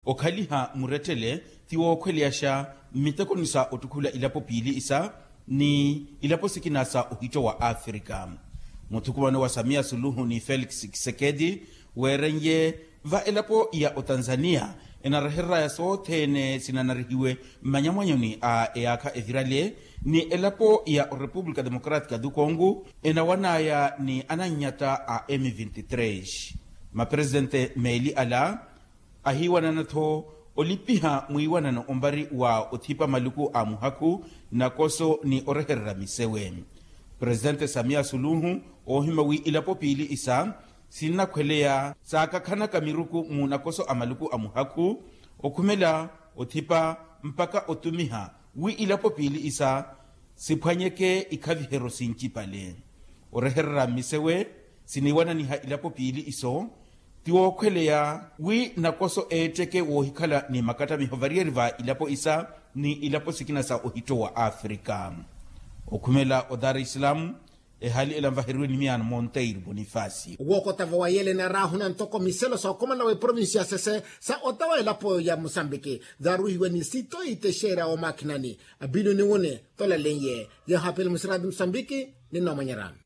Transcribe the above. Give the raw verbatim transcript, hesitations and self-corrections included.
Okhaliha murettele ti wookhweleyaxa mmitekoni sa ottukhula ilapo piili isa ni ilapo sikina sa ohitto wa afrika. Muthukumano wa samia suluhu ni felix kisekedi weeren'ye va elapo ya otanzania enarehereraya sothene sinanarihiwe mmanyamwanyoni a eyaakha evirale ni elapo ya orepupulika democratika du kongo enawanaya ni anannyata a m vinte tres. Maperesitente meeli ala ahiiwanana-tho olipiha mwiiwanano ombari wa othipa maluku a muhakhu nakoso ni orehererya misewe. Presitente samia suluhu oohimya wi ilapo piili isa sinnakhweleya saakakhanaka miruku mu nakoso a maluku a muhakhu okhumela othipa mpakha otumiha wi ilapo piili isa siphwanyeke ikhaviheryo sincipale. Orehererya mmisewe siniiwananiha ilapo piili iso ti wookhweleya wi nakoso eetteke woohikhala ni makattamiho variyari va ilapo isa ni ilapo sikina sa ohitto wa afrika. Okhumela odarislam ehali ela nvaheriwe ni miyaano monteiro bonifasi. Wookotava wa yele naraahuna ntoko miselo sookhumana wa eprovinsi ya sese sa ota wa elapo ya musambiki zaruhiwe ni sitoyi texeera omakhinani. Abino ni wune tolalenye yehapele musirati musambiki ni nomanyerano.